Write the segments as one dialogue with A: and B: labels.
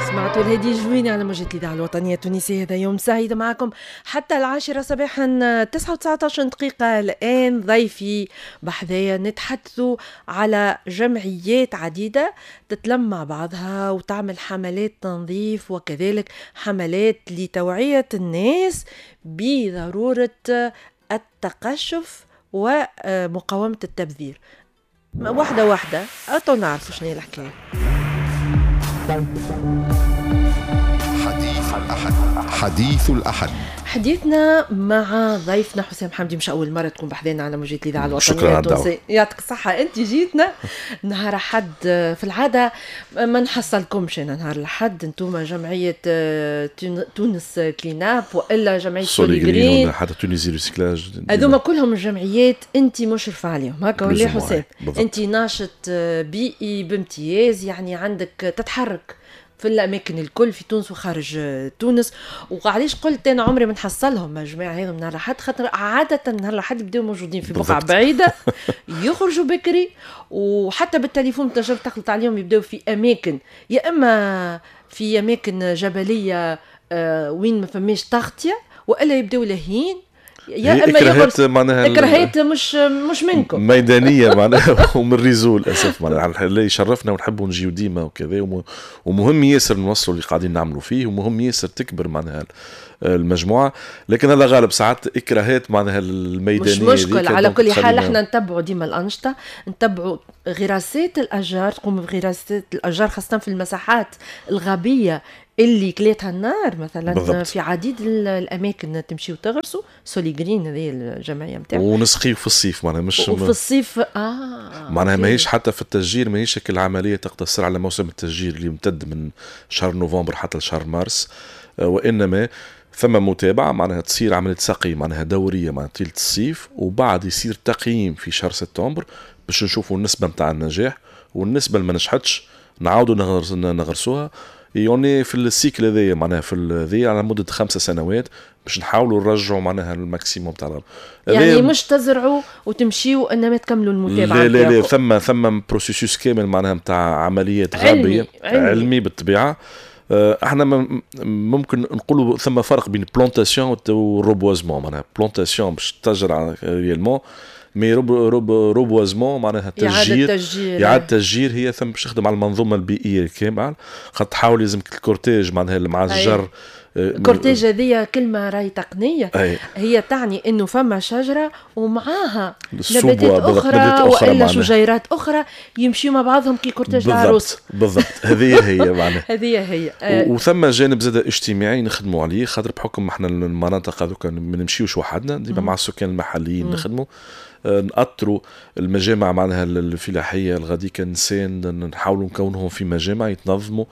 A: سمعتوا الهادي جويني على موجة الإذاعة الوطنية التونسية. هذا يوم سعيد معكم حتى 10 صباحا، 9:19 الآن. ضيفي بحذايا نتحدثوا على جمعيات عديدة تتلم مع بعضها وتعمل حملات تنظيف وكذلك حملات لتوعية الناس بضرورة التقشف ومقاومة التبذير. واحدة واحدة أتو نعرفوا شنو هي الحكاية.
B: حديث الأحد، حديث الأحد.
A: حديثنا مع ضيفنا حسام حمدي، مش أول مرة تكون بحذانا على موجة الإذاعة الوطنية التونسية. يعطيك الصحة، أنت جيتنا نهار أحد. في العادة ما نحصلكمش أنا نهار الأحد، أنتم جمعية تونس كليناب وإلا جمعية سوليغرين
C: حتى Tunisie Recyclage،
A: هذوما كلهم الجمعيات أنت مشرفة عليهم هكا ولا حسام؟ أنت ناشط بيئي بامتياز، يعني عندك تتحرك في الاماكن الكل في تونس وخارج تونس. وعلاش قلت انا عمري ما نحصلهم يا جماعة هذم نهار الاحد؟ خاطر عادة نهار الاحد يبداو موجودين في بقعة بعيدة، يخرجوا بكري، وحتى بالتليفون تنجم تخلط عليهم، يبداو في اماكن يا اما في اماكن جبلية وين ما فماش تغطيه، والا يبداو لاهين، يا اما
C: اكراهات معناها
A: اكراهات مش منكم
C: ميدانية معناها ومن ال réseau للاسف معناها اللي يشرفنا ونحبوا نجيو ديما وكذا، ومهم ياسر نوصلوا اللي قاعدين نعملوا فيه، ومهم ياسر تكبر معناها المجموعة، لكن هذا غالب ساعات اكراهات معناها الميدانية
A: مش مشكل. على كل حال احنا نتبعوا ديما الانشطة، نتبعوا غراسات الاشجار، تقوم بغراسات الاشجار خاصة في المساحات الغابيه اللي كلاتها النار مثلا. بالضبط. في عديد الاماكن تمشيو تغرسوا سوليغرين، هذه الجمعية نتاعو،
C: ونسقيو في الصيف معناها مش
A: وفي الصيف
C: معناها ماهيش حتى في التشجير، ماهيش العملية تقتصر على موسم التشجير اللي يمتد من شهر نوفمبر حتى لشهر مارس، وانما ثم متابعه معناها تصير عملية سقي معناها دورية معناها طيلة الصيف، وبعد يصير تقييم في شهر سبتمبر باش نشوفوا النسبة نتاع النجاح والنسبه اللي ما نجحتش نعاودوا نغرسوها. يعني في ال cycle هذايا معناها في هذايا على مده 5 سنوات باش نحاولوا نرجعوا معناها ال maximum تاع
A: يعني مش تزرعوا وتمشيوا انما تكملوا المتابعة.
C: لا لا لا، ثم processus كامل معناها نتاع عمليات غابيه علمي بالطبيعة. احنا ممكن نقولوا ثم فرق بين plantation و reboisement. معناها plantation باش تزرع réellement، mais reboisement معناها تشجير، اعاده تشجير هي ثم باش تخدم على المنظومة البيئية الكاملة، خاطر تحاول لازمك ال cortège معناها مع الشجر.
A: ال cortège هذه كلمة راهي تقنية. أي. هي تعني انه فما شجرة ومعاها نباتات اخرى والا شجيرات اخرى يمشيوا مع بعضهم كي cortège العروس.
C: بالضبط، هذه هي معناها
A: هذه هي.
C: وثم جانب زاد اجتماعي نخدموا عليه، خاطر بحكم احنا المناطق هذوك ما نمشيوش وحدنا، ديما مع السكان المحليين نخدموا، نأطروا المجامع معناها الفلاحية الغاديكا نسان، نحاولوا نكونهم في مجامع يتنظموا،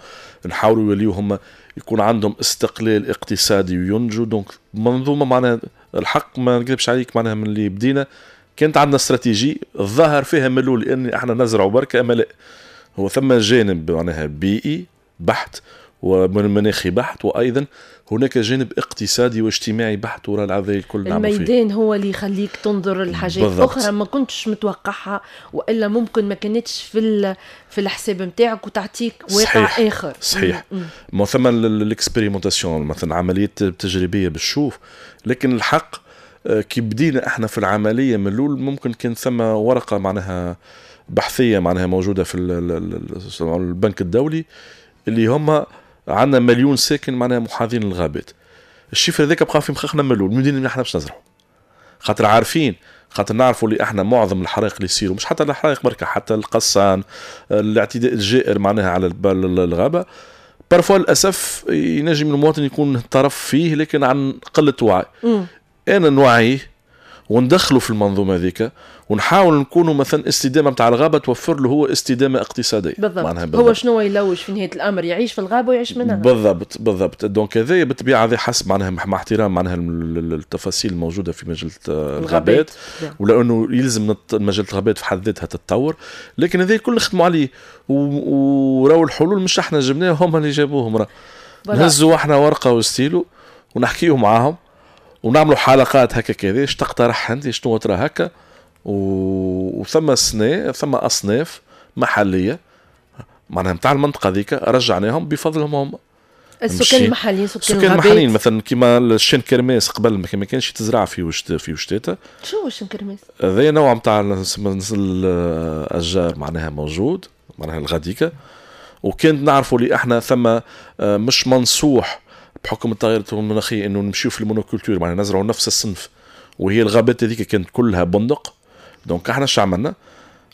C: نحاولوا يوليو هم يكون عندهم استقلال اقتصادي وينجوا. donc منظومة معناها الحق ما نكذبش عليك معناها من اللي بدينا كانت عندنا استراتيجي الظاهر فيها من الاول ان احنا نزرعوا بركة، اما لا، هو ثم جانب معناها بيئي بحت ومناخي بحت، وايضا هناك جانب اقتصادي واجتماعي بحت وراء العذاب الكل.
A: الميدان هو اللي يخليك تنظر لحاجات اخرى ما كنتش متوقعها، والا ممكن ما كانتش في الحساب نتاعك وتعطيك واقع.
C: صحيح.
A: اخر.
C: صحيح. ما ثم ال expérimentation مثلا عملية تجريبية بالشوف، لكن الحق كي بدينا احنا في العملية من الاول ممكن كان ثم ورقة معناها بحثيه معناها موجودة في البنك الدولي اللي هم عندنا 1,000,000 ساكن معناها محاذين للغابات. ال chiffre هذاك بقى في مخخنا من الاول، من احنا باش نزرعوا، خاطر عارفين، خاطر نعرفوا اللي احنا معظم الحرائق اللي يصيروا مش حتى الحرائق بركة، حتى القصان، الاعتداء الجائر معناها على الغابة، parfois للاسف ينجم المواطن يكون طرف فيه لكن عن قلة وعي. انا نوعية وندخله في المنظومة هذيك ونحاول نكونوا مثلا استدامه نتاع الغابة توفر له هو استدامه اقتصادية.
A: بالضبط. هو شنو يلوج في نهاية الامر؟ يعيش في الغابة ويعيش منها.
C: بالضبط بالضبط. donc هذا بالطبيعة هذا حسب معناها مع احترام معناها التفاصيل الموجودة في مجلة الغابات، ولانه يلزم مجلة الغابات في حد ذاتها تتطور، لكن هذا الكل نخدموا عليه وراو الحلول مش احنا جبناها، هم اللي جابوهم. راه نهزوا احنا ورقة وستيلو ونحكيو معاهم ونعملوا حلقات هكا كذا، اش تقترح انت، شنو ترى هكا، وثم سنة ثم اصناف محليه معناها نتاع المنطقة ذيك رجعناهم بفضلهم هم.
A: السكان المحليين،
C: سكان المحليين مثلا كيما ال chêne kermès قبل ما كانش تزرع في وشتاته.
A: شو هو ال chêne kermès؟
C: هذا نوع نتاع الاشجار معناها موجود معناها الغاديكا، وكانت نعرفوا اللي احنا ثم مش منصوح بحكم التغيرات المناخية انه نمشيو في ال monoculture، معناها نزرعوا نفس الصنف، وهي الغابات هذيك كانت كلها بندق. donc احنا شو عملنا؟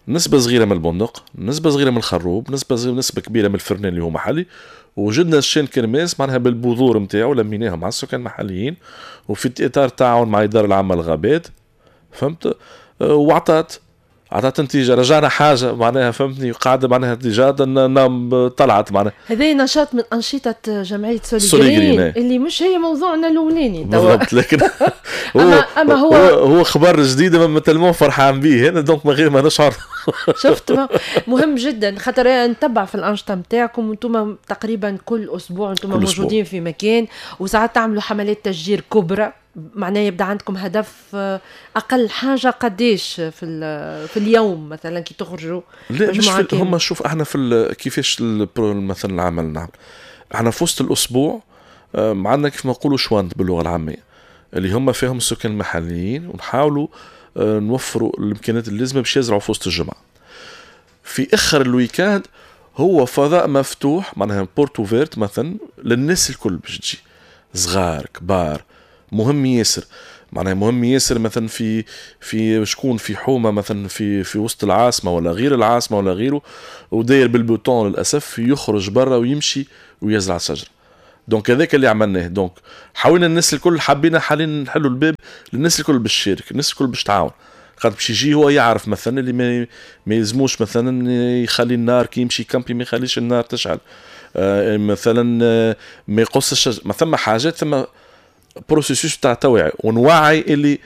C: نسبة صغيرة من البندق، نسبة صغيرة من الخروب، نسبة كبيرة من الفرنان اللي هو محلي، وجدنا ال chêne kermès معناها بالبذور نتاعو لميناها مع السكان المحليين، وفي اطار تعاون مع الادارة العامة للغابات، فهمت؟ وعطات نتيجة، رجعنا حاجة معناها فهمتني، قاعدة معناها déjà طلعت معناها.
A: هذا نشاط من انشطة جمعية سوليغرين اللي مش هي موضوعنا الاولاني
C: بالضبط، لكن هو أما هو خبر جديد ما tellement فرحان به انا، donc من غير ما نشعر.
A: شفت، مهم جدا خاطر نتبع في الانشطة نتاعكم، وانتم تقريبا كل اسبوع انتم موجودين في مكان، وساعات تعملوا حملات تشجير كبرى، معناه يبدا عندكم هدف اقل حاجة قديش في اليوم مثلا كي تخرجوا؟
C: لا مش في هم. شوف احنا في كيفاش مثلا العمل نعمل احنا في وسط الاسبوع عندنا كيف ما نقولوا شوانت باللغة العامية اللي هم فيهم السكان المحليين، ونحاولوا نوفروا الامكانيات اللازمة باش يزرعوا في وسط الجمعة. في اخر ال week-end هو فضاء مفتوح معناها porte ouverte مثلا للناس الكل باش تجي، صغار كبار، مهم ياسر معناها مهم ياسر مثلا في شكون في حومه مثلا في وسط العاصمة ولا غير العاصمة ولا غيره، وداير بالبوتون للاسف يخرج برا ويمشي ويزرع شجرة. donc هذاك اللي عملناه. donc حاولنا الناس الكل، حبينا حاليا نحلوا الباب للناس الكل باش تشارك، الناس الكل باش تعاون، خاطر باش يجي هو يعرف مثلا اللي ما يلزموش مثلا يخلي النار كي يمشي camper ما يخليش النار تشعل، مثلا ما يقص الشجر، ما ثم حاجات، ثم processus تاع توعية ونوعي اللي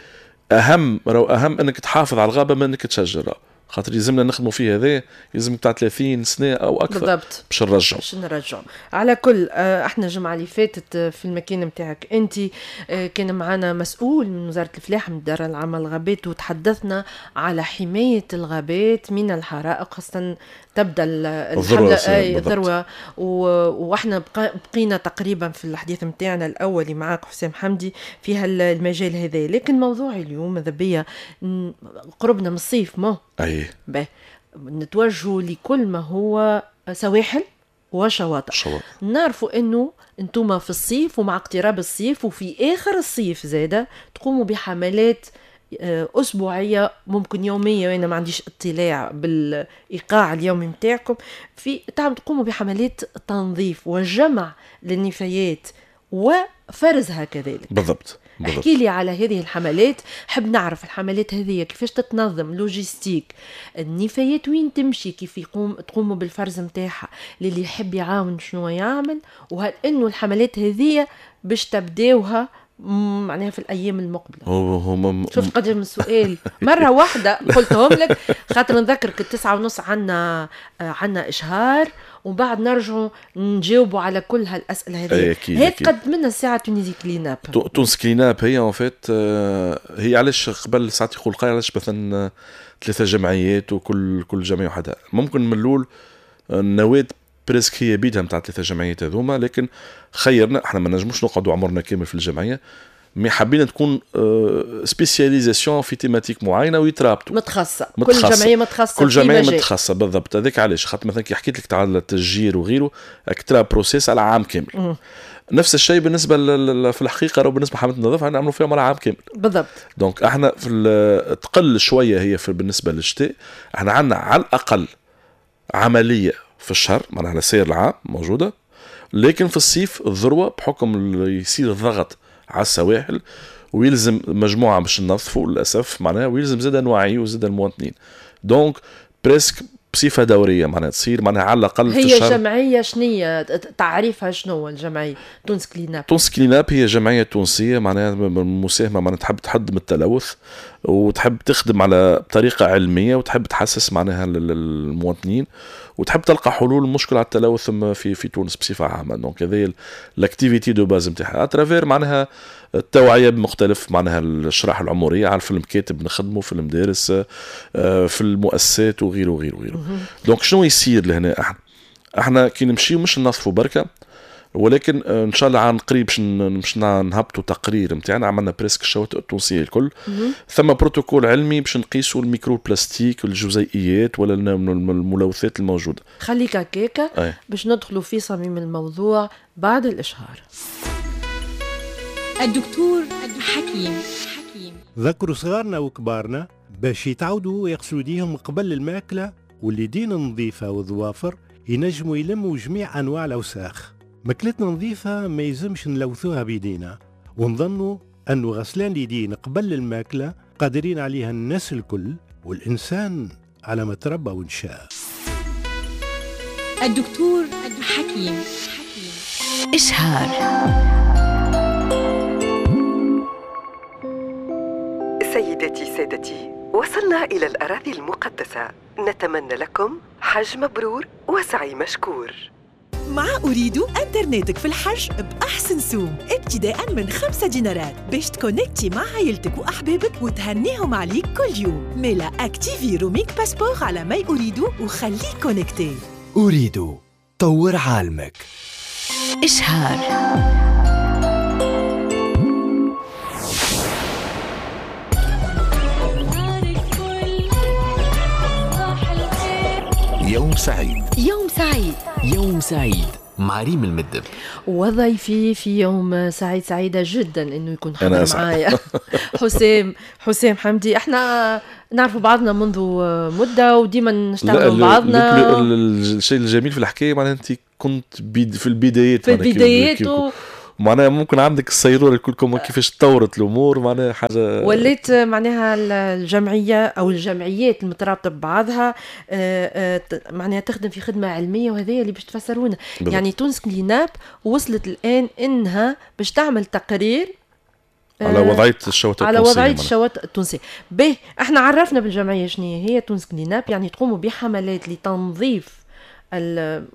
C: اهم، راهو اهم انك تحافظ على الغابة من انك تشجر، خاطر يلزمنا نخدموا فيه هذا، يلزم تاع 30 سنة او اكثر
A: بالضبط
C: باش نرجعوا
A: باش نرجعوا. على كل احنا الجمعة اللي فاتت في المكان نتاعك انت كان معنا مسؤول من وزارة الفلاحة من الادارة العامة للغابات، وتحدثنا على حماية الغابات من الحرائق، خاصة تبدا الحملة الذروة، واحنا بقينا تقريبا في الحديث نتاعنا الاولي معاك حسام حمدي في هالمجال هذا. لكن موضوع اليوم ماذا بيا قربنا من الصيف، ما
C: اي
A: نتوجهوا لكل ما هو سواحل وشواطئ. نعرفوا انه انتم في الصيف ومع اقتراب الصيف وفي اخر الصيف زاده تقوموا بحملات أسبوعية ممكن يومية، وأنا ما عنديش اطلاع بالإيقاع اليومي متاعكم، في تقوموا بحملات تنظيف وجمع للنفايات وفرزها كذلك.
C: بالضبط.
A: احكي لي على هذه الحملات، حب نعرف الحملات هذه كيفاش تتنظم، logistique النفايات وين تمشي، كيف تقوموا بالفرز متاعها، للي يحب يعاون شنو يعمل، وهل انه الحملات هذه باش تبداوها معناها في الايام المقبلة؟
C: هو
A: شفت قدر من السؤال مرة واحدة قلتهم لك، خاطر نذكرك 9:30 عنا اشهار، ومن بعد نرجعوا نجاوبوا على كل هالاسئلة هذه. هي تقدم لنا الساعة Tunisie Clean Up.
C: تونس Clean Up هي en fait هي علاش قبل ساعات يقول قايل علاش مثلا 3 جمعيات وكل جمعية وحدها، ممكن من الاول النواة presque هي بيدها نتاع 3 جمعيات هذوما، لكن خيرنا احنا ما نجموش نقعدوا عمرنا كامل في الجمعية، mais حبينا تكون spécialisation في thématique معينة ويترابطوا
A: متخصصة، كل جمعية متخصصة،
C: كل جمعية متخصصة بالضبط. هذاك علاش خاطر مثلا كي حكيت لك تاع التشجير وغيره اكترا processus على عام كامل. نفس الشيء بالنسبة في الحقيقة راهو بالنسبة لحمله النظافة نعملوا فيها على عام كامل
A: بالضبط.
C: donc احنا في تقل شوية هي في بالنسبة للشتاء، احنا عندنا على الاقل عملية في الشهر معناها على سير العام موجودة، لكن في الصيف الذروة بحكم يصير الضغط على السواحل ويلزم مجموعة باش ننظفوا للاسف معناها، ويلزم زاد نوعي وزاد المواطنين، donc presque بصفة دورية معناها تصير معناها على الاقل
A: في الشهر. هي جمعية شنية تعريفها شنو الجمعية تونس Clean Up؟
C: تونس Clean Up هي جمعية تونسية معناها مساهمة معناها تحب تحد من التلوث وتحب تخدم على طريقه علمية وتحب تحسس معناها المواطنين وتحب تلقى حلول المشكلة على التلوث في تونس بصفة عامة. donc هذه l'activité de base نتاعها à travers معناها التوعية بمختلف معناها الشرائح العمرية، على في المكاتب نخدموا، في المدارس، في المؤسسات وغيره وغيره وغيره. donc شنو يصير لهنا؟ احنا كي نمشيو مش ننظفوا بركة، ولكن ان شاء الله عن قريب باش نهبطوا تقرير نتاعنا. عملنا presque الشواطئ التونسية الكل. ثم بروتوكول علمي باش نقيسوا ال microplastique والجزيئيات ولا الملوثات الموجودة.
A: خليك هكاكا باش ندخلوا في صميم الموضوع بعد الاشهار.
D: الدكتور حكيم.
E: ذكروا صغارنا وكبارنا باش يتعودوا يغسلوا يديهم قبل الماكلة، واليدين النظيفة والظوافر ينجموا يلموا جميع أنواع الأوساخ. ماكلتنا نظيفة ما يلزمش نلوثوها بيدينا، ونظنوا أنه غسلان اليدين قبل الماكلة قادرين عليها الناس الكل، والإنسان على ما تربى ونشاء.
D: الدكتور حكيم.
F: إشهار.
G: سيداتي سادتي، وصلنا إلى الأراضي المقدسة. نتمنى لكم حج مبرور وسعي مشكور.
H: مع أوريدو انترنتك في الحج بأحسن سوم، ابتداء من 5 دينارات باش تكونكتي مع عائلتك وأحبابك وتهنيهم عليك كل يوم. ميلا activer roaming passeport على my أوريدو وخليك connecté.
I: أوريدو، طور عالمك.
F: إشهار.
B: يوم سعيد.
F: يوم سعيد.
I: يوم سعيد مع ريم المدب.
A: وضيفي في يوم سعيد، سعيدة جدا انه يكون حاضر معايا حسام حمدي. احنا نعرف بعضنا منذ مدة وديما نشتغلوا بعضنا.
C: الشيء الجميل في الحكاية معناها انت كنت في البدايات،
A: في البدايات
C: معناها ممكن عندك السيرورة الكل كيفاش تطورت الامور، معناها حاجة
A: وليت معناها الجمعية او الجمعيات المترابطه ببعضها معناها تخدم في خدمة علمية، وهذا اللي باش تفسرونا. يعني تونس كليناب وصلت الان انها باش تعمل تقرير
C: على وضعية الشواطئ
A: على وضعية الشواطئ التونسية. به احنا عرفنا بالجمعيه شنو هي تونس كليناب، يعني تقوموا بحملات لتنظيف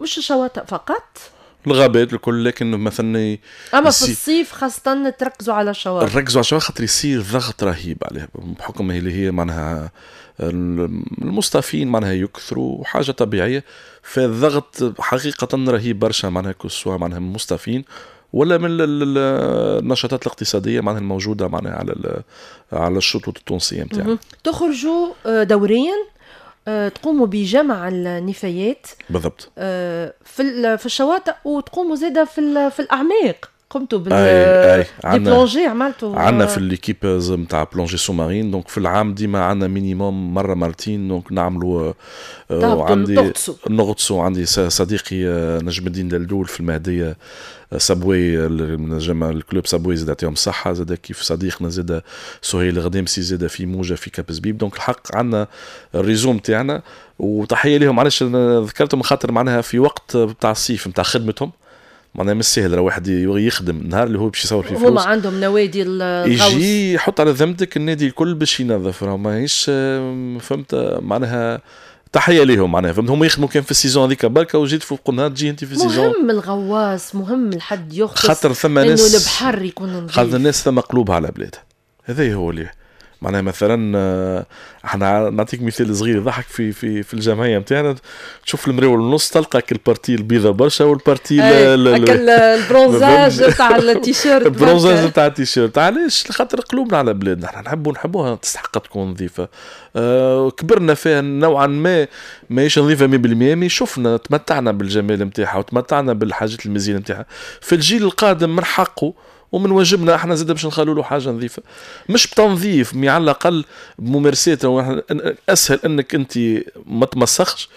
A: مش الشواطئ فقط،
C: الغابات الكل، لكن مثلا
A: اما في الصيف خاصة تركزوا على الشواطئ.
C: نركزوا على الشواطئ خاطر يصير ضغط رهيب عليها بحكم اللي هي معناها المصطافين معناها يكثروا حاجة طبيعية، فالضغط حقيقة رهيب برشا معناها que ce soit معناها من المصطافين ولا من النشاطات الاقتصادية معناها الموجودة معناها على الشطوط التونسية نتاعنا.
A: تخرجوا دوريا تقوموا بجمع النفايات
C: بالضبط
A: في الشواطئ، وتقوموا زاده في الاعماق. قمتوا بال plongée، عملتوا
C: عندنا في l'équipe نتاع plongée sous-marine، donc في العام ديما عندنا minimum مرة مرتين، donc نعملوا
A: عندي
C: نغطسوا. عندي صديقي نجم الدين دلدول في المهدية سابوي، نجم ال club سابوي زاد يعطيهم الصحة، زاد كيف صديقنا زاد سهيل غديمسي زاد في موجه في كاب زبيب. donc الحق عندنا ال réseau نتاعنا، وتحية لهم. علاش ذكرتهم؟ خاطر معناها في وقت بتاع الصيف نتاع خدمتهم معناها مش سهل، راه واحد يخدم النهار اللي هو باش يصور فيه فلوس.
A: هما عندهم نوادي الغوص،
C: يجي يحط على ذمتك النادي الكل باش ينظف، راه ماهيش فهمت معناها. تحية ليهم معناها فهمت، هما يخدموا كان في ال saison هذيك بركة، وجيت فوق النهار تجي انت في ال saison.
A: مهم الغواص، مهم الحد يغطس،
C: خاطر ثم ناس
A: انه البحر يكون نظيف،
C: خاطر الناس ثم قلوبها على بلادها. هذا هو اللي معناها مثلا احنا نعطيك مثال صغير يضحك في في في الجمعية نتاعنا، تشوف المريول النص تلقى ال partie البيضة برشا وال partie
A: ال bronzage تاع التيشيرت،
C: ال bronzage تاع التيشيرت. علاش؟ خاطر قلوبنا على بلادنا، احنا نحبوها تستحق تكون نظيفة. كبرنا فيها نوعا ما، ماهيش نظيفة 100%، mais شفنا تمتعنا بالجمال نتاعها وتمتعنا بالحاجات المزيانه نتاعها. في الجيل القادم من حقه ومن واجبنا احنا زاد باش نخلوا له حاجة نظيفة، مش بتنظيف mais على الاقل بممارسات. اسهل انك انت ما تمسخش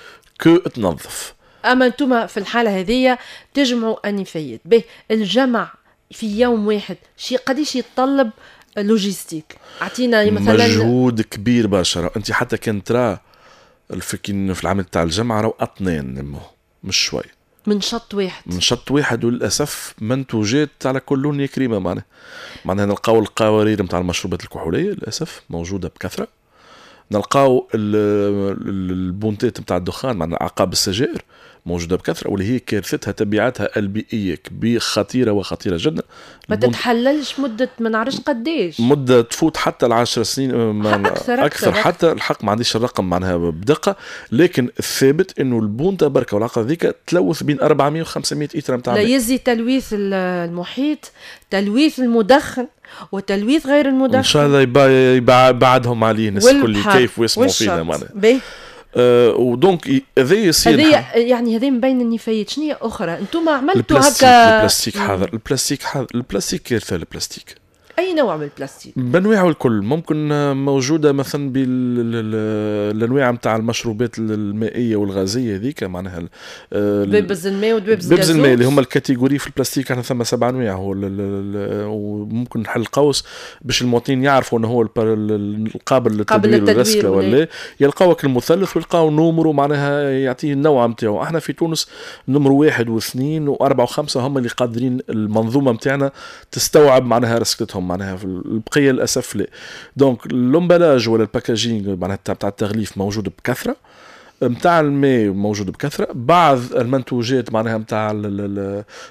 C: que تنظف.
A: اما انتم في الحالة هذه تجمعوا النفايات به الجمع في يوم واحد، شيء قديش يتطلب logistique؟ اعطينا مثلا
C: مجهود كبير برشا. انت حتى كان ترى في العمل تاع الجمع راهو اطنان مش شوي،
A: من شط واحد،
C: من شط واحد، وللاسف منتوجات على كل لون يا كريمة. معناها نلقاو القوارير نتاع المشروبات الكحوليه للاسف موجودة بكثرة، نلقاو البونتات نتاع الدخان معناها عقاب السجائر موجودة بكثرة، واللي هي كارثتها تبعاتها البيئية كبيرة، خطيرة وخطيرة جدا.
A: ما تتحللش مده ما نعرفش قداش،
C: مده تفوت حتى 10 سنين،
A: أكثر,
C: أكثر حتى الحق ما عنديش الرقم معناها بدقة، لكن الثابت انه البونتا بركة والعقد هذيك تلوث بين 400 و 500 إتر نتاع
A: لا يزي تلويث المحيط، تلويث المدخن وتلويث غير المدخن.
C: ان شاء الله يبعدهم عليه الناس الكل كيف ويسمعوا فينا معناها. و donc هذا يصير
A: هذا يعني هذا من بين النفايات. شنو هي اخرى انتم عملتوا هكا؟
C: البلاستيك حاضر، البلاستيك حاضر، البلاستيك كارثة. البلاستيك
A: اي نوع من البلاستيك؟
C: بانواعه الكل، ممكن موجودة مثلا بالانواع نتاع المشروبات المائية والغازيه هذيك، معناها
A: دبابز الماء ودبابز
C: الغاز الماء اللي هما ال catégories في البلاستيك. احنا ثم 7 انواع، هو وممكن نحل قوس باش المواطنين يعرفوا انه هو القابل للتدوير والرسكله ولا، يلقاوك المثلث ويلقاو numéro معناها يعطيه النوع نتاعو. احنا في تونس numéro 1 و2 و4 و5 هم اللي قادرين المنظومة نتاعنا تستوعب معناها رسكتهم، معناها في البقية للاسف لا. donc l'emballage ولا ال packaging معناها تاع التغليف موجود بكثرة، نتاع الماء موجود بكثرة، بعض المنتوجات معناها نتاع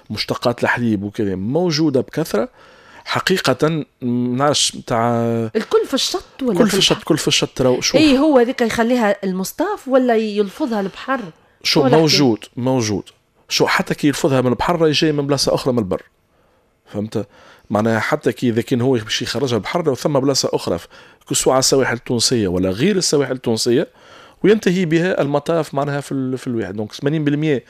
C: مشتقات الحليب وكذا موجودة بكثرة. حقيقة ما نعرفش نتاع
A: الكل في الشط ولا
C: كل في الشط، كل في الشط. راهو شوف
A: اي هو هذيك يخليها المصطاف ولا يلفظها البحر؟
C: شو موجود موجود، شو حتى كي يلفظها من البحر راهي جاية من بلاصة اخرى من البر، فهمت؟ معناها حتى كي اذا كان هو باش يخرجها البحر لو ثم بلاصة اخرى كسوا على السواحل التونسية ولا غير السواحل التونسية، وينتهي بها المطاف معناها في الواحد. donc 80%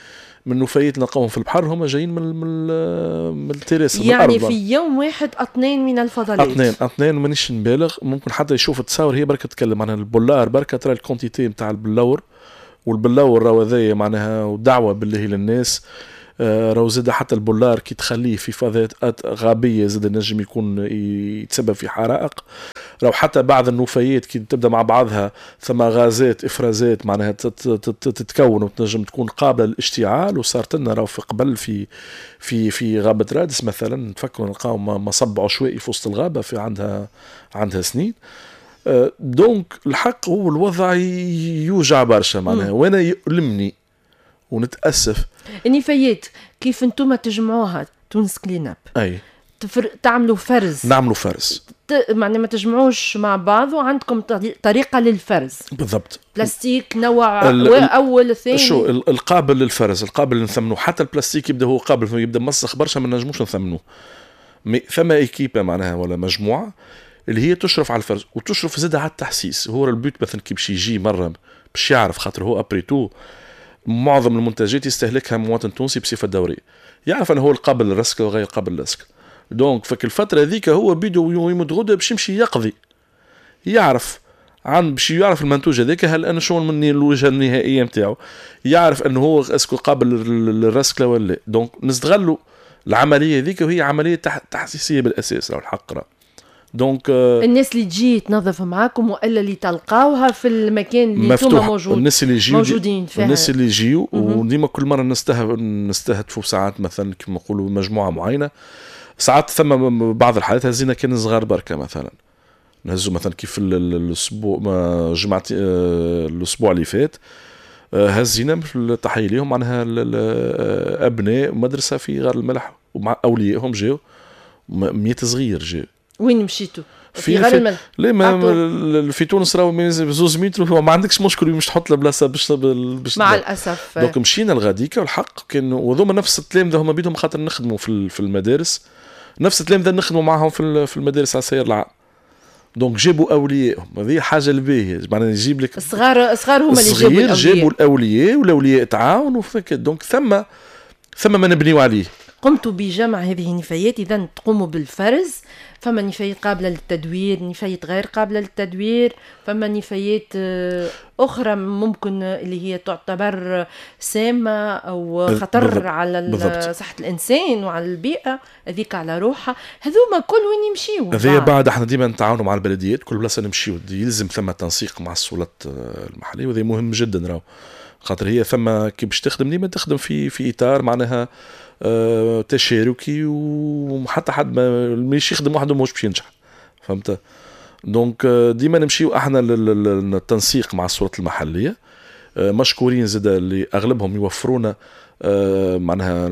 C: من النفايات اللي نلقاوهم في البحر هما جايين من ال terrestre،
A: يعني في يوم واحد اطنان من الفضلات.
C: اطنان مانيش نبالغ، ممكن حتى يشوف التصاور هي بركة تتكلم معناها البلار بركة ترى ال quantité نتاع البلور، والبلور راهو هذايا معناها ودعوة بالله للناس. راهو زاد حتى البلار كي تخليه في فضاءات غابيه زاد نجم يكون يتسبب في حرائق. راهو حتى بعض النفايات كي تبدا مع بعضها ثم غازات افرازات معناها تتكون وتنجم تكون قابله للاشتعال. وصارت لنا راهو في قبل في في في غابه رادس مثلا، نتفكروا نلقاو مصب عشوائي في وسط الغابة في عندها سنين. donc الحق هو الوضع يوجع برشا معناها، وانا يؤلمني ونتاسف.
A: النفايات كيف انتم تجمعوها تونس كليناب؟
C: اي
A: تعملوا فرز؟
C: نعملوا فرز،
A: معناها ما تجمعوش مع بعض، وعندكم طريقه للفرز.
C: بالضبط،
A: بلاستيك نوع اول ثاني،
C: شو القابل للفرز، القابل نثمنوه. حتى البلاستيك يبدا هو قابل، يبدا مسخ برشا ما نجموش نثمنوه. ثم équipe معناها ولا مجموعة اللي هي تشرف على الفرز وتشرف زاد على التحسيس. هو ال but مثلا كي باش يجي مرة باش يعرف، خاطر هو après tout معظم المنتجات يستهلكها مواطن تونسي بصفة دورية، يعرف انه هو القابل للرسكل وغير قابل للرسكل. donc فك الفترة هذيك هو بيدو يمد غده باش يمشي يقضي، يعرف عن باش يعرف المنتوج هذاك هل انا شو من الوجهة النهائية نتاعو، يعرف انه هو est-ce que قابل للرسكله ولا لا. donc نستغلوا العملية هذيك، وهي عملية تحسيسيه بالاساس راهو الحق راه. donc
A: الناس اللي تجي تنظف معاكم والا اللي تلقاوها في المكان اللي انتم موجود،
C: الناس اللي يجيو
A: موجودين فيها،
C: الناس اللي يجيو. وديما كل مرة نستهدفوا ساعات مثلا كما نقولوا مجموعة معينة. ساعات ثم بعض الحالات هزينا كان صغار بركة مثلا، نهزوا مثلا كيف الاسبوع جمعه الاسبوع اللي فات هزينا تحية ليهم معناها ابناء مدرسه في غار الملح ومع اوليائهم جاو 100 صغير جاو.
A: وين مشيتوا؟ في غار الملح؟
C: لا ما في تونس راهو 2 متر ما عندكش مشكل مش تحط البلاصة باش
A: مع الاسف.
C: donc مشينا لغاديكا والحق كان وذوما نفس التلامذه هما بيدهم، خاطر نخدموا في المدارس، نفس التلامذه نخدموا معاهم في المدارس على السير العام. donc جابوا اوليائهم، هذه حاجة الباهيه معناها يجيب لك
A: الصغار هما اللي جابوا الاولياء،
C: جابوا الاولياء والاولياء تعاونوا. donc ثم ما نبنيو عليه.
A: قمتوا بجمع هذه النفايات، اذا تقوموا بالفرز. فما نفايات قابله للتدوير، نفايات غير قابله للتدوير، فما نفايات اخرى ممكن اللي هي تعتبر سامة او خطر
C: بالضبط.
A: على
C: بالضبط.
A: صحة الانسان وعلى البيئة، هذيك على روحها. هذوما كل وين يمشيو
C: هذايا بعد احنا ديما نتعاونوا مع البلديات، كل بلاصة نمشيو يلزم ثم تنسيق مع السلطات المحلية، وهذا مهم جدا راهو، خاطر هي ثم كي باش تخدم ديما تخدم في اطار معناها تشاركي، وحتى حد ما يخدم وحده ماهوش باش ينجح، فهمت؟ donc ديما نمشيو احنا للتنسيق مع السلطات المحلية. مشكورين زاد اللي اغلبهم يوفرونا معناها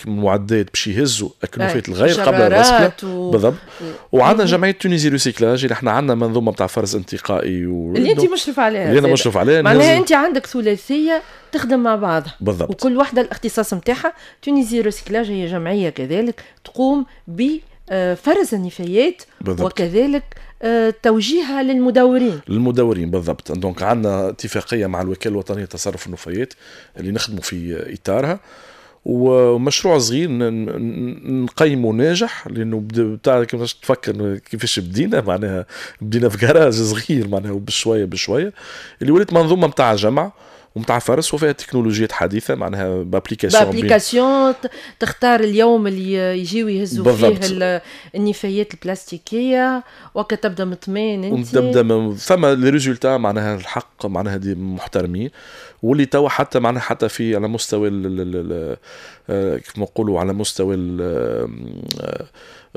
C: المعدات باش يهزوا النفايات الغير قابله للرسكله بالضبط. وعندنا جمعية Tunisie Recyclage اللي احنا عندنا منظومة نتاع فرز انتقائي
A: اللي انت مشرف عليها،
C: اللي انا مشرف عليها.
A: معناها انت عندك ثلاثية تخدم مع بعضها
C: بالضبط،
A: وكل واحدة الاختصاص نتاعها. Tunisie Recyclage هي جمعية كذلك تقوم بفرز النفايات
C: بالضبط.
A: وكذلك توجيهها للمدورين.
C: للمدورين بالضبط. donc عندنا اتفاقية مع الوكالة الوطنية لتصرف النفايات اللي نخدموا في اطارها، ومشروع صغير نقيمه ناجح، لانه بتاع كيفاش تفكر كيفاش بدينا، معناها بدينا في جراج صغير معناها بشوية بشوية اللي ولات منظومة نتاع جمع ومتاع فرز وفيها تكنولوجيات حديثه، معناها ب application
A: ب application تختار اليوم اللي يجيو يهزوا فيه النفايات البلاستيكية، وقت تبدا مطمئن انت
C: تبدا ثم les résultats معناها الحق معناها des محترمين، واللي توا حتى معناها حتى في على مستوى كيف ما نقولوا على مستوى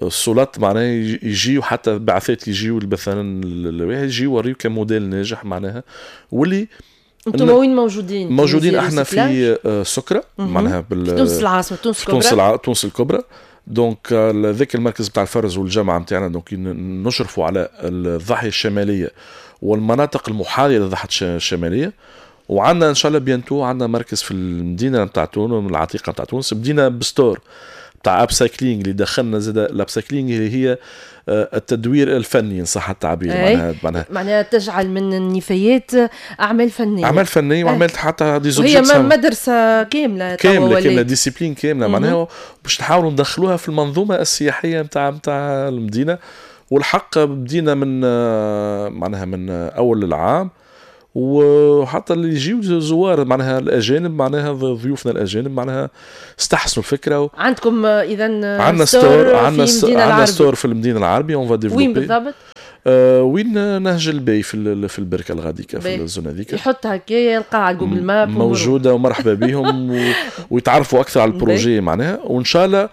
C: السلطات معناها يجيو حتى بعثات يجيو مثلا يجيو يوريو كموديل ناجح معناها. واللي
A: انتم وين موجودين؟
C: موجودين احنا في سكرة معناها
A: في تونس العاصمة، تونس الكبرى،
C: تونس الكبرى. donc ذاك المركز بتاع الفرز والجامعة نتاعنا donc نشرفوا على الضاحية الشمالية والمناطق المحاذيه للضاحيه الشمالية. وعندنا ان شاء الله bientôt عندنا مركز في المدينة نتاع تونس، العتيقة نتاع تونس. بدينا ب store تاع upcycling اللي دخلنا زاد ال upcycling اللي هي التدوير الفني ان صح التعبير، معناها
A: تجعل من النفايات اعمال فنية،
C: اعمال فنية وعملت حتى des
A: objets. هي مدرسه كاملة
C: كاملة discipline كاملة معناها باش نحاولوا ندخلوها في المنظومة السياحية نتاع المدينة. والحق بدينا من معناها من اول العام، وحتى اللي يجيو زوار معناها الاجانب معناها ضيوفنا الاجانب معناها استحسنوا الفكرة.
A: عندكم اذا
C: عندنا store، عندنا store في المدينة العربية on va développer.
A: وين بالضبط؟
C: وين نهج الباي في البركة الغاديكه في ال zone هذيك،
A: يحط هكايا يلقى على Google Maps
C: موجودة، ومرحبا بهم ويتعرفوا اكثر على ال projet معناها. وان شاء الله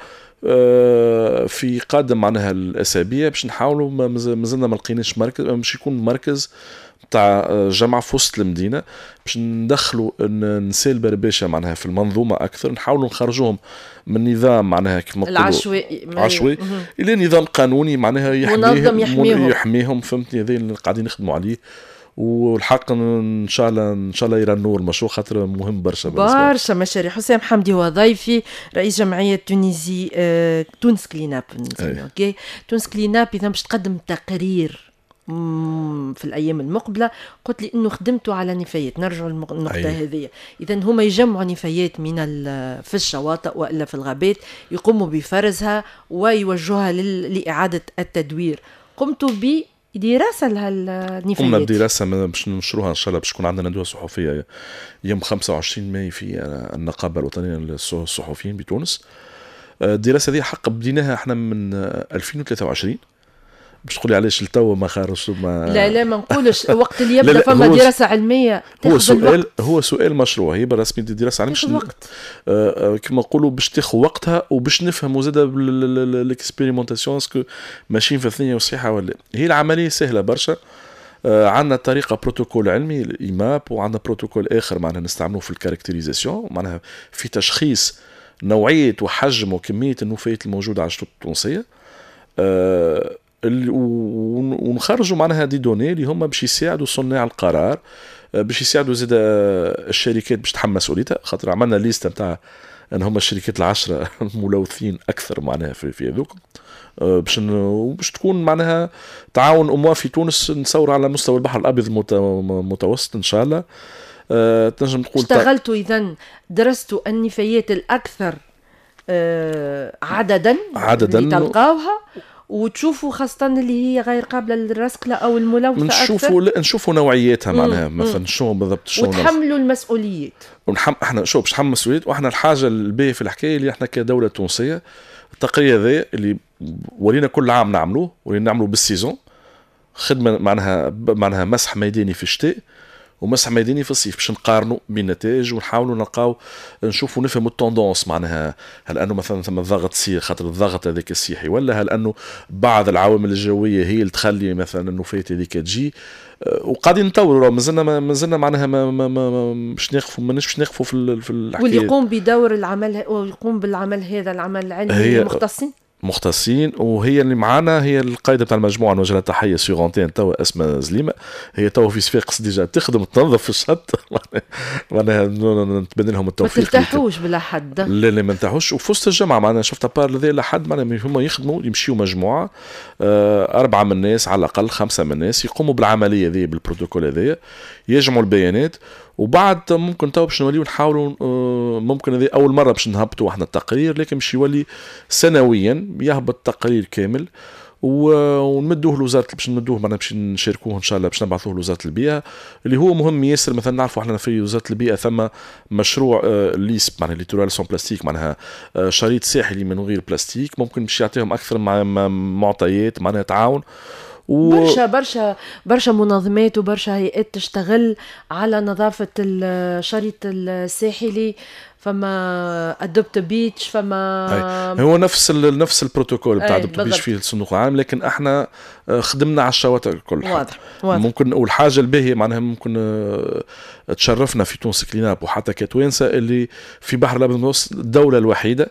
C: في قادم معناها الاسابيع باش نحاولوا، مازلنا ما لقيناش مركز باش يكون مركز تاع جامعه في وسط المدينة باش ندخلوا النساء البرباشه معناها في المنظومة اكثر، نحاولوا نخرجوهم من نظام معناها كيف ما نقولوا العشوائي الى نظام قانوني معناها يحميهم، يحميهم فهمتني. هذا اللي قاعدين نخدموا عليه، والحق ان شاء الله ان شاء الله يرى النور المشروع خاطر مهم برشا
A: برشا مشاريع. حسام حمدي هو ضيفي، رئيس جمعية Tunisie تونس Clean Up. OK، تونس Clean Up اذا باش تقدم تقرير في الايام المقبلة، قلت لي انه خدمتوا على نفايات، نرجع للنقطة هذه. اذا هما يجمعوا نفايات من في الشواطئ والا في الغابات، يقوموا بفرزها ويوجهوها لاعادة التدوير. قمتوا بدراسة لهالنفايات؟
C: قمنا بدراسة باش ننشروها ان شاء الله، باش تكون عندنا ندوه صحفية يوم 25 ماي في النقابة الوطنية للصحفيين بتونس. الدراسة هذه حق بديناها احنا من 2023. باش تقولي علاش لتوا ما خرجش؟ ما
A: لا ما نقولش وقت اللي يبدا فما دراسة علمية.
C: هو سؤال، هو سؤال مشروع، هي بالرسمي دراسة علمية
A: تاخذ وقت
C: كما نقولوا باش تاخذ وقتها، وباش نفهموا زاد l'expérimentation est-ce que ماشيين في الثنية وصحيحه ولا. هي العملية سهلة برشا، عندنا طريقه بروتوكول علمي ال IMAP، وعندنا بروتوكول اخر معناها نستعملوه في ال caractérisation معناها في تشخيص نوعية وحجم وكمية النفايات الموجودة على الشطوط التونسية، ونخرجوا معناها des données اللي هما باش يساعدوا صناع القرار، باش يساعدوا زاد الشركات باش تحمل مسؤوليتها، خاطر عملنا liste نتاع ان هما الشركات العشرة الملوثين اكثر معناها في هذوك، باش تكون معناها تعاون اموا في تونس نصور على مستوى البحر الابيض المتوسط ان شاء الله. تنجم تقول
A: اشتغلتوا اذا درستوا النفايات الاكثر عددا اللي تلقاوها، وتشوفوا خاصة اللي هي غير قابلة للرسكلة أو الملوثة
C: أكثر، نشوفوا نوعيتها معناها مثلا شنو بالضبط، شنو
A: وتحملوا المسؤوليات.
C: احنا شو باش نحمل المسؤوليات. واحنا الحاجة الباهية في الحكاية اللي احنا كدولة تونسية التقرير هذا اللي ولينا كل عام نعملوه، ولينا نعملوه بال saison، خدمة معناها مسح ميداني في الشتاء ومسح ميداني في الصيف باش نقارنوا بين النتائج ونحاولوا نلقاو نشوفوا نفهموا ال tendance، معناها هل انه مثلا ثم ضغط سيح خاطر الضغط هذاك السيحي، ولا هل انه بعض العوامل الجوية هي اللي تخلي مثلا النفايات هذيك تجي. وقاعدين نطوروا، مازلنا معناها ما باش نقفوا، ماناش باش نقفوا في الحكاية.
A: واللي يقوم بدور العمل ويقوم بالعمل هذا العمل العلمي مختصين،
C: وهي اللي معانا هي القائده بتاع المجموعة، نوجه لها تحية sur antenne توا، اسمها زليمه، هي توا في صفاقس déjà تخدم تنظف في الشط معناها نتمنى لهم التوفيق.
A: ما ترتاحوش بلا حد؟
C: لا لا ما نرتاحوش. وفي وسط الجامعة معناها شفت à part هذا لحد معناها هما يخدموا، يمشيوا مجموعة 4 من الناس على الاقل، 5 من الناس يقوموا بالعملية ذي بالبروتوكول هذايا، يجمعوا البيانات، وبعد ممكن تو باش نوليو نحاولوا، ممكن هذه اول مرة باش نهبطوا احنا التقرير، لكن باش يولي سنويا يهبط تقرير كامل ونمدوه لوزارة، باش نمدوه معناها باش نشاركوه ان شاء الله، باش نبعثوه لوزارة البيئة اللي هو مهم ياسر. مثلا نعرفوا احنا في وزارة البيئة ثم مشروع LISP معناها littoral sans plastique، معناها شريط ساحلي من غير بلاستيك، ممكن باش يعطيهم اكثر معطيات معناها تعاون.
A: برشا برشا برشا منظمات وبرشا هيئات تشتغل على نظافة الشريط الساحلي، فما Adopt a Beach، فما
C: هو نفس البروتوكول بتاع Adopt a Beach فيه الصندوق العام، لكن احنا خدمنا على الشواطئ الكل.
A: واضح واضح.
C: ممكن والحاجة الباهيه معناها ممكن تشرفنا في تونس Clean Up وحتى كتوانسه اللي في بحر الابيض المتوسط الدولة الوحيدة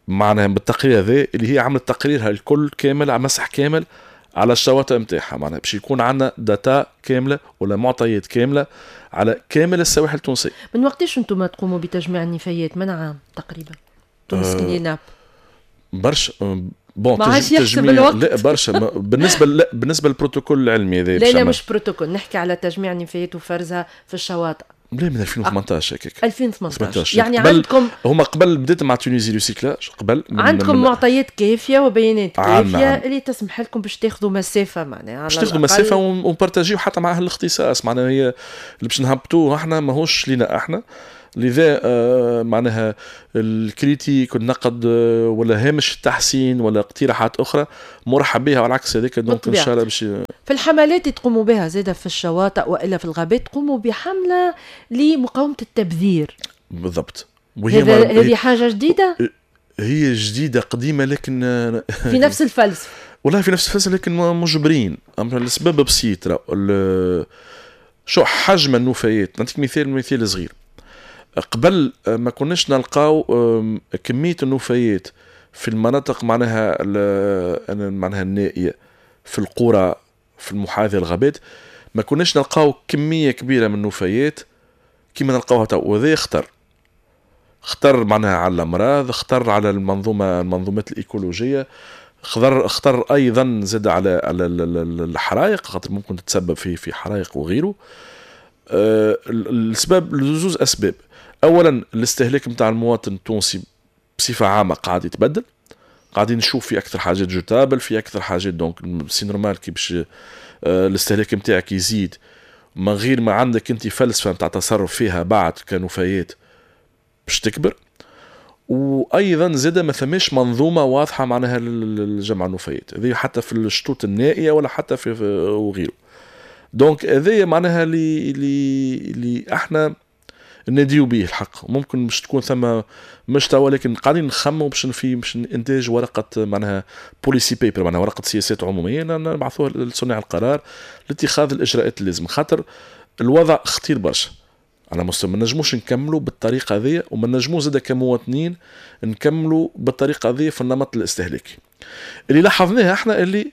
C: معناها بالتقرير هذا اللي هي عملت تقريرها الكل كامل على مسح كامل على الشواطئ نتاعها، معناها باش يكون عندنا data كاملة ولا معطيات كاملة على كامل السواحل التونسية.
A: من وقتاش انتم تقوموا بتجميع النفايات؟ من عام تقريبا تونس Clean Up؟
C: برشا bon تجميع الوقت. لا برشا بالنسبة بالنسبة للبروتوكول العلمي هذا.
A: لا لا مش بروتوكول، نحكي على تجميع النفايات وفرزها في الشواطئ.
C: لا من 2018 هكاك.
A: 2018 يعني عندكم
C: هما قبل بديت مع Tunisie Recyclage قبل
A: عندكم معطيات كافيه وبيانات كافيه اللي تسمح لكم باش تاخذوا مسافة، معناها
C: باش تاخذوا مسافة ونبارتاجيو حتى مع اهل الاختصاص، معناها هي اللي باش نهبطوه احنا ماهوش لينا احنا، لذا معناها ال critique والنقد ولا هامش التحسين ولا اقتراحات اخرى مرحب بها، والعكس هذاك. donc ان شاء الله باش
A: في الحملات اللي تقوموا بها زاده في الشواطئ والا في الغابات تقوموا بحمله لمقاومة التبذير.
C: بالضبط.
A: وهي هذه حاجة جديدة؟
C: هي جديدة قديمة لكن
A: في نفس الفلسفة.
C: والله في نفس الفلسفة لكن مجبرين، السبب بسيط. شو حجم النفايات، نعطيك مثال صغير. قبل ما كناش نلقاو كمية النفايات في المناطق معناها النائية في القرى في المحاذية الغابات، ما كناش نلقاو كمية كبيرة من النفايات كما نلقاوها تو، وهذا خطر معناها على الأمراض، خطر على المنظومات الإيكولوجية، خطر أيضا زاد على الحرائق، خاطر ممكن تتسبب في حرائق وغيره. السبب لزوز أسباب. اولا الاستهلاك نتاع المواطن التونسي بصفة عامة قاعد يتبدل، قاعدين نشوف في اكثر حاجات jetables، في اكثر حاجات، donc c'est normal كي باش الاستهلاك نتاعك يزيد من غير ما عندك انت فلسفة نتاع تصرف فيها بعد كنفايات باش تكبر. وايضا زاد ما ثماش منظومة واضحة معناها للجمع النفايات هذه حتى في الشطوط النائية ولا حتى في وغيره. donc هذايا معناها اللي احنا نديو به الحق. ممكن مش تكون ثم مش توا، لكن قاعدين نخموا باش انتاج ورقة معناها policy paper، معناها ورقة سياسات عموميه نبعثوها لصناع القرار لاتخاذ الاجراءات اللازمة، خاطر الوضع خطير برشا على مستوى. ما نجموش نكملوا بالطريقة هذه، وما نجموش زاد كمواطنين نكملوا بالطريقة هذه في النمط الاستهلاكي اللي لاحظناه احنا، اللي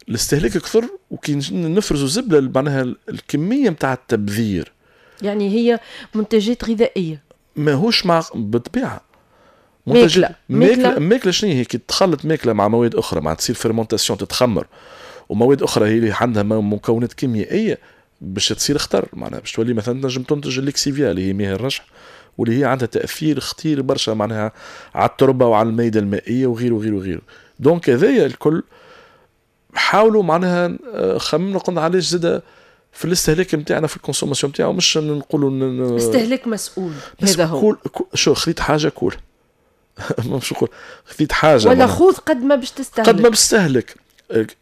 C: الاستهلاك كثر وكي نفرزوا زبله معناها الكمية نتاع التبذير،
A: يعني هي منتجات غذائية
C: ماهوش مع بالطبيعة ماكله شنو هي كي تخلط ماكله مع مواد اخرى، مع تصير fermentation تتخمر، ومواد اخرى هي اللي عندها مكونات كيميائية باش تصير خطر، معناها باش تولي مثلا تنجم تنتج ال lixiviat اللي هي مياه الرشح، واللي هي عندها تاثير خطير برشا معناها على التربة وعلى الميده المائية وغيره وغيره وغيره. donc هذايا الكل حاولوا معناها خممنا قلنا علاش زاد في الاستهلاك نتاعنا في ال consommation نتاعو، مش نقولوا
A: استهلاك مسؤول. هذا هو
C: شو خذيت حاجة كول مش نقول خذيت حاجة
A: ولا خذ قد ما باش تستهلك،
C: قد ما باش تستهلك.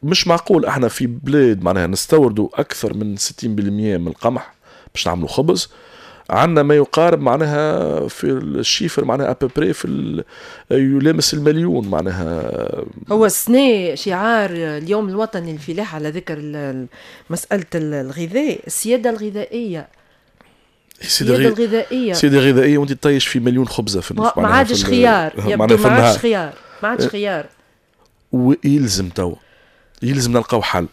C: مش معقول احنا في بلاد معناها نستوردوا اكثر من 60% من القمح باش نعملوا خبز. عندنا ما يقارب معناها في ال chiffre معناها à peu près في يلامس المليون معناها.
A: هو السنة شعار اليوم الوطني للفلاحة على ذكر مسألة الغذاء، السيادة الغذائية. السيادة الغذائية،
C: السيادة الغذائية، وانت تطيش في مليون خبزة في
A: ما عادش خيار، يبدو ما عادش خيار، ما عادش خيار.
C: ويلزم تو يلزم نلقاو حل.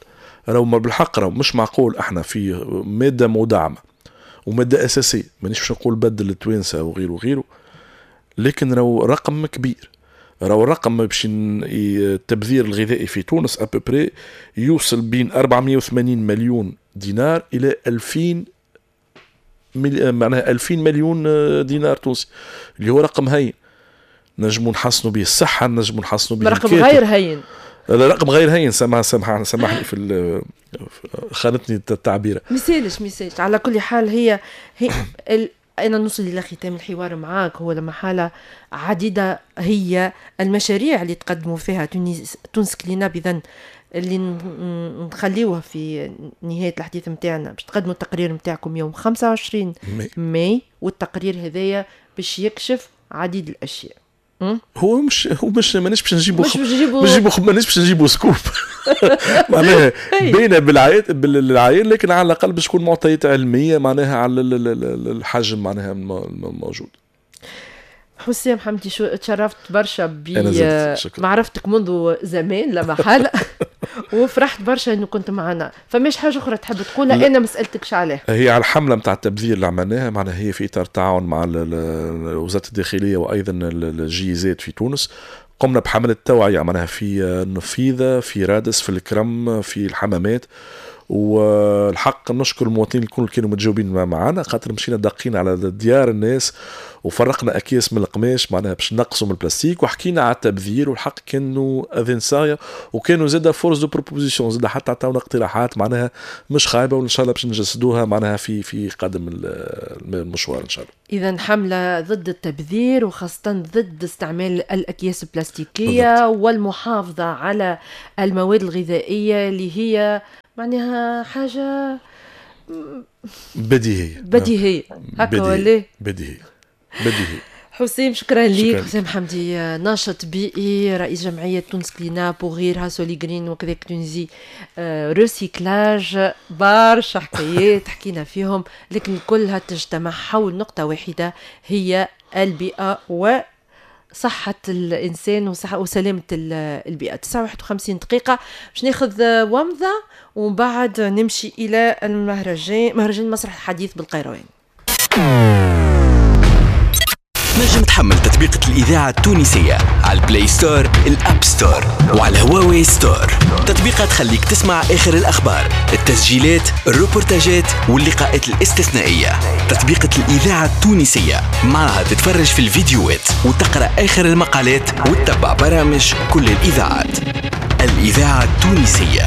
C: راهو بالحق راهو مش معقول احنا في مادة مدعمة ومادة أساسية، مانيش باش نقول بدل التوانسة وغيره وغيره، لكن راهو رقم كبير. راهو الرقم باش التبذير الغذائي في تونس à peu près يوصل بين 480 مليون دينار إلى 2000 معناها 2000 مليون دينار تونسي، اللي هو رقم هين نجمو نحسنوا به الصحة، نجمو نحسنوا به
A: رقم غير هين.
C: لا رقم غير هين، سامحني في خانتني التعبير.
A: ميسالش. على كل حال هي أنا نوصل إلى ختام الحوار معاك. هو لما حالة عديدة هي المشاريع اللي تقدموا فيها تونس كليناب، إذن اللي نخليوها في نهاية الحديث متاعنا باش تقدموا التقرير متاعكم يوم 25 ماي، والتقرير هذايا باش يكشف عديد الأشياء.
C: هو مش مانيش باش نجيبو مانيش باش نجيبو scoop معناها باينة بالعين، لكن على الاقل باش تكون معطيات علمية معناها على الحجم معناها الموجود.
A: حسام حمدي، شو تشرفت برشا بمعرفتك منذ زمان لا محالة وفرحت برشا انه كنت معنا. فماش حاجة اخرى تحب تقولها انا ما سالتكش عليها؟
C: هي على الحملة نتاع التبذير اللي عملناها، معناها هي في اطار تعاون مع وزارة الداخلية وايضا ال GIZ في تونس. قمنا بحمله توعيه معناها في النفيذه، في رادس، في الكرم، في الحمامات. والحق نشكر المواطنين الكل كانوا متجاوبين معنا، خاطر مشينا دقينا على ديار الناس وفرقنا اكياس من القماش معناها باش نقصوا من البلاستيك، وحكينا على التبذير. والحق كانوا اذن صاغيه، وكانوا زاده force de proposition، زاده حتى عطاونا اقتراحات معناها مش خايبة، وان شاء الله باش نجسدوها معناها في قادم المشوار ان شاء الله.
A: اذا حمله ضد التبذير، وخاصة ضد استعمال الاكياس البلاستيكية. بالضبط. والمحافظة على المواد الغذائية اللي هي معناها حاجة بديهية هكا ولا
C: بديهية.
A: حسام شكرا لك. حسام حمدي، ناشط بيئي، رئيس جمعية تونس كليناب وغيرها، سوليغرين وكذلك Tunisie Recyclage. برشا حكايات حكينا فيهم، لكن كلها تجتمع حول نقطة واحدة هي البيئة و صحة الإنسان وسلامة البيئة. 59 دقيقة باش ناخذ ومضة ومن بعد نمشي إلى المهرجان، مهرجان مسرح الحديث بالقيروان.
I: نجم تحمل تطبيقة الإذاعة التونسية على ال Play Store، ال App Store، وعلى هواوي Store. تطبيقة تخليك تسمع آخر الأخبار، التسجيلات، الروبورتاجات واللقاءات الاستثنائية. تطبيقة الإذاعة التونسية معها تتفرج في الفيديوهات وتقرأ آخر المقالات وتتبع برامج كل الإذاعات. الإذاعة التونسية،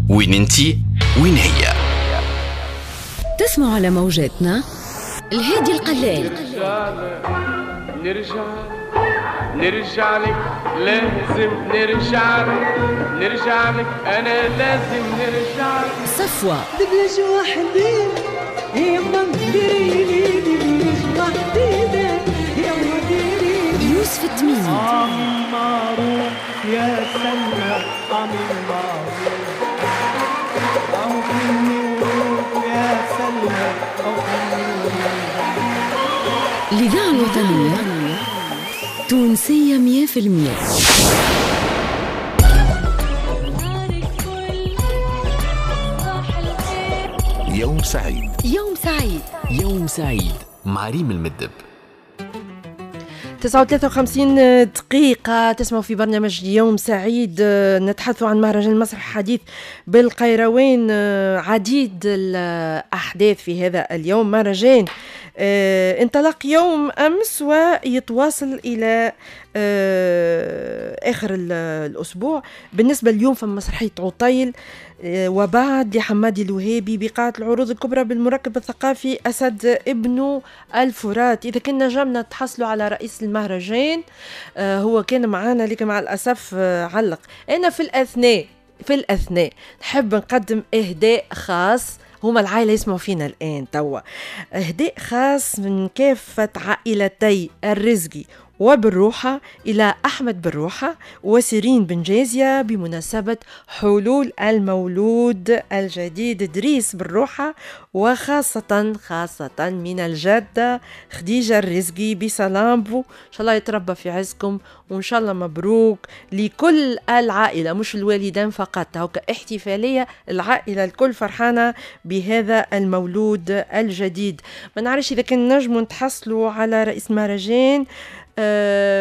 I: وين انتي وين هي.
F: تسمع على موجاتنا الهادي القلال.
J: نرجع لك، لازم نرجع لك، نرجع لك، أنا لازم نرجع لك.
F: صفوة
K: دبلج وحدي يما ديري لي دبلج وحدي يما ديري.
F: يوسف التميمي،
K: معروف يا سلمى، عمي معروف يا سلمى.
F: الإذاعة الوطنية تونسية 100%.
B: يوم سعيد،
F: يوم سعيد،
I: يوم سعيد مع ريم المدب.
A: 59 دقيقة تسمعوا في برنامج يوم سعيد. نتحدث عن مهرجان المسرح الحديث بالقيروان. عديد الأحداث في هذا اليوم. مهرجان انطلق يوم أمس ويتواصل إلى آخر الأسبوع. بالنسبة اليوم فما مسرحية عطيل وبعد لحمادي الوهابي بقاعة العروض الكبرى بالمركب الثقافي أسد ابن الفرات. إذا كنا نجمنا تحصلوا على رئيس المهرجان، هو كان معنا لكن مع الأسف علق. أنا في الأثناء نحب نقدم إهداء خاص. هما العائلة يسمعوا فينا الآن توا. إهداء خاص من كافة عائلتي الرزقي وبالروحة إلى أحمد بالروحة وسيرين بن جازية بمناسبة حلول المولود الجديد دريس بالروحة، وخاصة خاصة من الجدة خديجة الرزقي بسلامبو. إن شاء الله يتربى في عزكم، وإن شاء الله مبروك لكل العائلة، مش الوالدين فقط، هوكا احتفالية العائلة الكل فرحانة بهذا المولود الجديد. ما نعرفش إذا كان نجموا نتحصلوا على رئيس مهرجان،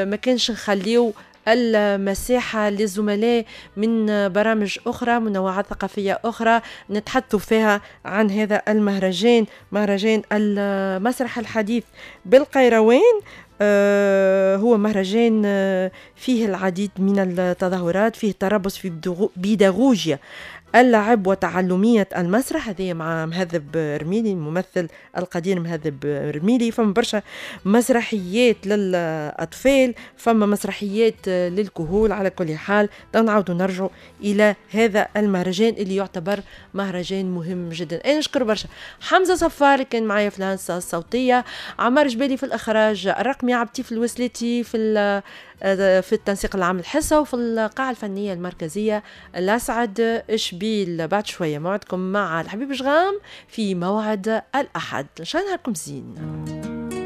A: ما كانش نخليو المساحة للزملاء من برامج أخرى، منوعات ثقافية أخرى نتحدث فيها عن هذا المهرجان، مهرجان المسرح الحديث بالقيروان. هو مهرجان فيه العديد من التظاهرات، فيه تربص في بيداغوجيا اللعب وتعلمية المسرح، هذه مع مهذب رميلي الممثل القدير مهذب رميلي. فما برشا مسرحيات للأطفال، فما مسرحيات للكهول. على كل حال نعاودوا نرجعوا إلى هذا المهرجان اللي يعتبر مهرجان مهم جدا. أنا نشكر برشا حمزة صفار كان معايا في الهندسة الصوتية، عمار جبالي في الإخراج الرقمي، عبتي في الوسلاتي في التنسيق العام الحصة، وفي القاعة الفنية المركزية الأسعد شبيل. بعد شوية موعدكم مع الحبيب جغام في موعد الأحد. إن شاء الله نهاركم زين.